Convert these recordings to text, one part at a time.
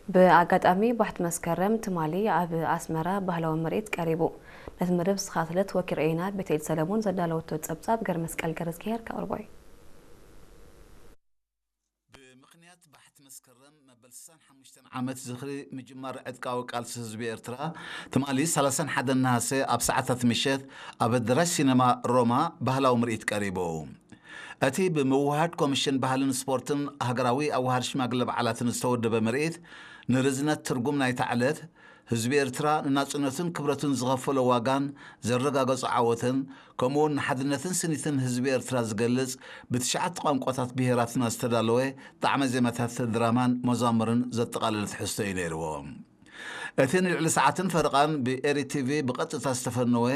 ብኣጋጣሚ ባሕቲ መስከረም ትማሊ ኣብ ኣስመራ ባህላዊ ምርኢት ቀሪቡ። ነቲ መደብ ዝተኸታተለት ወኪል ሬና ቤተኤል ሰለሞን ዘዳለወቶ ጸብጻብ ገርመስቀል ገረዝግሄር ከቕርቦ እዩ። ብምኽንያት ባሕቲ መስከረም መበል ስሳን ሓሙሽተን ዓመት ዝኽሪ ምጅማር ዕጥቃዊ ቃልሲ ህዝቢ ኤርትራ፣ ትማሊ ሰላሳን ሓደን ነሃሰ ኣብ ሰዓታት ምሸት ኣብ ኣዳራሽ ሲነማ ሮማ ባህላዊ ምርኢት ቀሪቡ። እቲ ብምውህሃድ ኮሚሽን ባህልን ስፖርትን ሃገራዊ ኣዋሃድ ሽማግለ በዓላትን ዝተወደበ ምርኢት፣ ንርዝነት ትርጉም ናይታ ዕለት፣ ህዝቢ ኤርትራ ንናጽነቱን ክብረቱን ዝኸፈሎ ዋጋን ዘረጋገጾ ዓወትን፣ ከምኡውን ንሓድነትን ስኒትን ህዝቢ ኤርትራ ዝገልጽ ብትሽዓተ ቋንቋታት ብሄራትና ዝተዳለወ ጣዕመ ዜማታት ድራማን መዛሙርን ዘጠቓለለ ትሕዝቶ እዩ ነይርዎ። እቲ ንልዕሊ ሰዓትን ፈረቓን ብኤሪ ቲቪ ብቐጥታ ዝተፈነወ፣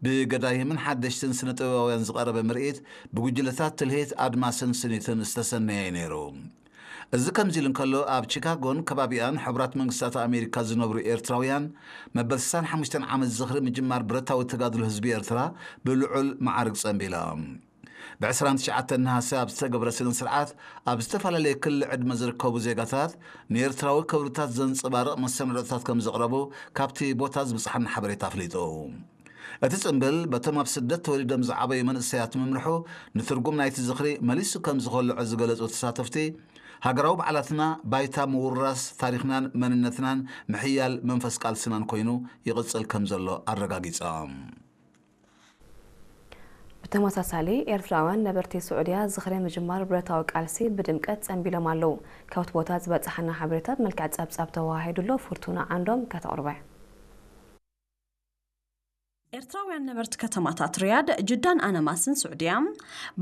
ብገዳይምን ሓደሽትን ስነ ጥበባውያን ዝቐረበ ምርኢት፣ ብጉጅለታት ትልሂት ኣድማስን ስኒትን ዝተሰነየ እዩ ነይሩ። እዚ ከምዚ ኢሉ እንከሎ፣ ኣብ ቺካጎን ከባቢኣን ሕቡራት መንግስታት ኣሜሪካ ዝነብሩ ኤርትራውያን፣ መበል ስሳን ሓሙሽተን ዓመት ዝኽሪ ምጅማር ብረታዊ ተጋድሎ ህዝቢ ኤርትራ ብልዑል መዓርግ ጸንቢሎም። ብዕስራን ትሽዓተን ነሃሰ ኣብ ዝተገብረ ስነ ስርዓት፣ ኣብ ዝተፈላለየ ክሊ ዕድመ ዝርከቡ ዜጋታት ንኤርትራዊ ክብርታት ዘንጸባርቕ መሰናድኦታት ከም ዘቕረቡ ካብቲ ቦታ ዝብጽሓና ሓበሬታ ኣፍሊጡ። እቲ ጽምብል በቶም ኣብ ስደት ተወሊዶም ዝዓበዩ መንእሰያት ምምርሑ፣ ንትርጉም ናይቲ ዝኽሪ መሊሱ ከም ዝኸልዖ ዝገለጹ ተሳተፍቲ፣ ሃገራዊ በዓላትና ባይታ ምውርራስ ታሪኽናን መንነትናን ምሕያል መንፈስ ቃልስናን ኮይኑ ይቕጽል ከም ዘሎ ኣረጋጊጾም። ብተመሳሳሊ፣ ኤርትራውያን ነበርቲ ስዑድያ ዝኽሪ ምጅማር ብረታዊ ቃልሲ ብድምቀት ጸንቢሎም ኣለዉ። ካብቲ ቦታ ዝበጽሓና ሓበሬታ ብመልክዕ ጸብጻብ ተወሃሂዱሎ፣ ፍርቱና ዓንዶም ከተቕርቦ እያ። ኤርትራውያን ነበርቲ ከተማታት ሪያድ፣ ጅዳን ኣነማስን ስዑድያ፣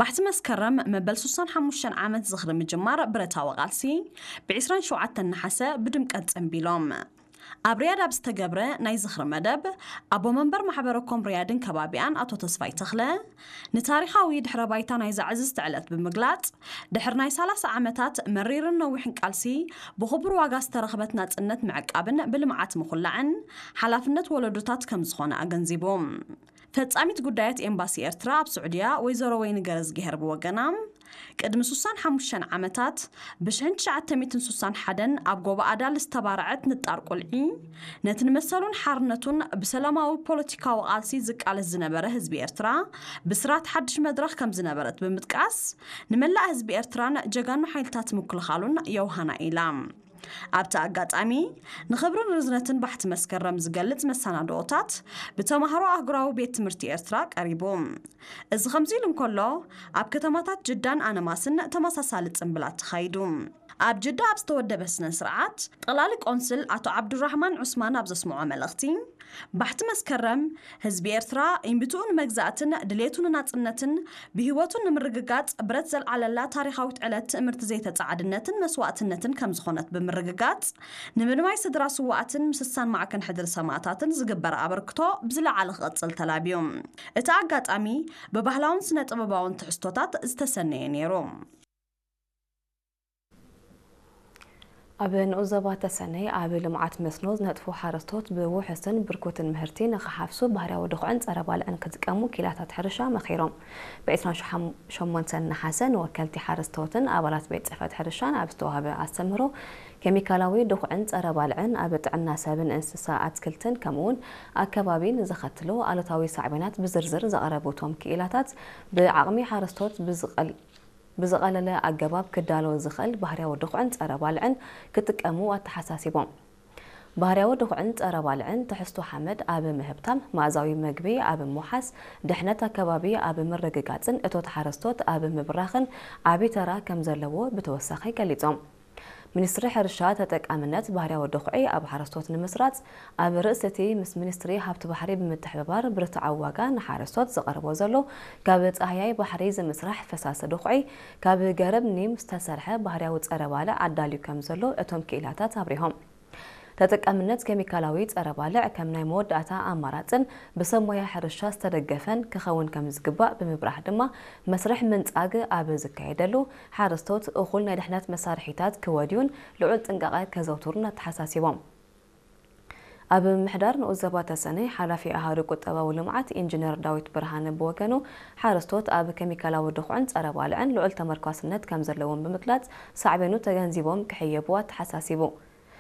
ባሕቲ መስከረም መበል ስሳን ሓሙሽተን ዓመት ዝኽሪ ምጅማር ብረታዊ ቃልሲ፣ ብ ዕስራን ሸውዓተን ነሓሰ ብድምቀት ጸንቢሎም። ኣብ ሪያድ ኣብ ዝተገብረ ናይ ዝኽሪ መደብ፣ ኣቦ መንበር ማሕበረ ኮም ሪያድን ከባቢኣን ኣቶ ተስፋይ ተኽለ፣ ንታሪኻዊ ድሕረ ባይታ ናይዛ ዕዝዝቲ ዕለት ብምግላጽ፣ ድሕሪ ናይ ሰላሳ ዓመታት መሪርን ነዊሕን ቃልሲ፣ ብኽቡር ዋጋ ዝተረኽበት ናጽነት ምዕቃብን ብልምዓት ምኹላዕን ሓላፍነት ወለዶታት ከም ዝኾነ ኣገንዚቡ። ፈጻሚት ጉዳያት ኤምባሲ ኤርትራ ኣብ ስዑድያ ወይዘሮ ወይኒ ገረዝግሄር ብወገና፣ ቅድሚ ስሳን ሓሙሽተን ዓመታት፣ ብሽሕን ትሽዓተ ሚእትን ስሳን ሓደን ኣብ ጎቦ ኣዳል ዝተባረዐት ንጣር ቁልዒ፣ ነቲ ንመሰሉን ሓርነቱን ብሰላማዊ ፖለቲካዊ ቃልሲ ዝቃለስ ዝነበረ ህዝቢ ኤርትራ፣ ብስራት ሓድሽ መድረኽ ከም ዝነበረት ብምጥቃስ፣ ንመላእ ህዝቢ ኤርትራን ጀጋኑ ሓይልታት ምክልኻሉን የውሃና ኢላ። ኣብቲ ኣጋጣሚ፣ ንኽብርን ርዝነትን ባሕቲ መስከረም ዝገልጽ መሰናድኦታት ብተማሃሮ ኣህጉራዊ ቤት ትምህርቲ ኤርትራ ቀሪቡ። እዚ ከምዚ ኢሉ እንከሎ፣ ኣብ ከተማታት ጅዳን ኣነማስን ተመሳሳሊ ጽምብላት ተኻይዱ። ኣብ ጅዳ ኣብ ዝተወደበ ስነ ስርዓት፣ ጠቕላሊ ቆንስል ኣቶ ዓብዱራህማን ዑስማን ኣብ ዘስምዖ መልእኽቲ፣ ባሕቲ መስከረም፣ ህዝቢ ኤርትራ ኢምብትኡ ንመግዛእትን ድሌቱ ንናጽነትን ብህይወቱ ንምርግጋጽ ብረት ዘልዓለላ ታሪኻዊት ዕለት ትእምርቲ ዘይተጻዓድነትን መስዋእትነትን ከም ዝኾነት ብምርግጋጽ፣ ንምልማይ ስድራ ስዋኣትን ምስሳን ማዕከን ሕድሪ ሰማእታትን ዝግበር ኣበርክቶ ብዝለዓለ ክቕጽል ተላብዩ። እቲ ኣጋጣሚ ብባህላውን ስነ ጥበባውን ትሕዝቶታት ዝተሰነየ ነይሩ። ኣብ ንኡስ ዞባ ተሰነይ ኣብ ልምዓት መስኖ ዝነጥፉ ሓረስቶት ብውሑስን ብርኩትን ምህርቲ ንኽሓፍሱ ባህርያዊ ድኹዕን ጸረ ባልዕን ክጥቀሙ ክኢላታት ሕርሻ መኺሮም። ብ ዕስራን ሸሞንተን ነሓሰ ንወከልቲ ሓረስቶትን ኣባላት ቤት ጽሕፈት ሕርሻን ኣብ ዝተዋህበ ኣስተምህሮ፣ ኬሚካላዊ ድኹዕን ጸረ ባልዕን ኣብ ጥዕና ሰብን እንስሳ ኣትክልትን ከምኡውን ኣከባቢ ንዘኸትሎ ኣሉታዊ ሳዕቤናት ብዝርዝር ዘቕረቡ እቶም ክኢላታት፣ ብዓቕሚ ሓረስቶት ብዝቐል ብዝቐለለ ኣገባብ ክዳሎ ዝኽእል ባህርያዊ ድኹዕን ጸረ ባልዕን ክጥቀሙ ኣተሓሳሲቦም። ባህርያዊ ድኹዕን ጸረ ባልዕን ትሕዝቶ ሓመድ ኣብ ምህብታም፣ መኣዛዊ መግቢ ኣብ ምውሓስ፣ ድሕነት ኣከባቢ ኣብ ምርግጋጽን እቶት ሓረስቶት ኣብ ምብራኽን ዓቢ ተራ ከም ዘለዎ ብተወሳኺ ገሊጾም። ሚኒስትሪ ሕርሻ ተጠቃምነት ባህርያዊ ድኹዒ ኣብ ሓረስቶት ንምስራጽ፣ ኣብ ርእሲ እቲ ምስ ሚኒስትሪ ሃብቲ ባሕሪ ብምትሕብባር ብርትዓዊ ዋጋ ንሓረስቶት ዝቐርቦ ዘሎ ካብ ጻህያይ ባሕሪ ዝምስራሕ ፈሳሲ ድኹዒ ካብ ገረብ ኒም ዝተሰርሐ ባህርያዊ ጸረ ባልዕ ኣዳልዩ ከም ዘሎ እቶም ክኢላታት ኣብሪሆም። ተጠቃምነት ኬሚካላዊ ጸረ ባልዕ ከም ናይ መወዳእታ ኣማራጽን ብሰብ ሞያ ሕርሻ ዝተደገፈን ክኸውን ከም ዝግባእ ብምብራህ ድማ፣ መስርሕ ምንጻግ ኣብ ዝካየደሉ፣ ሓረስቶት እኹል ናይ ድሕነት መሳርሒታት ክወድዩን ልዑል ጥንቃቐ ከዘውትሩን ኣተሓሳሲቦም። ኣብ ምምሕዳር ንኡስ ዞባ ተሰነይ ሓላፊ ኣሃዱ ቁጠባዊ ልምዓት ኢንጂነር ዳዊት ብርሃነ ብወገኑ፣ ሓረስቶት ኣብ ኬሚካላዊ ድኹዕን ጸረ ባልዕን ልዑል ተመርኳስነት ከም ዘለዎም ብምግላጽ፣ ሳዕቤኑ ተገንዚቦም ክሕየቡ ኣተሓሳሲቡ።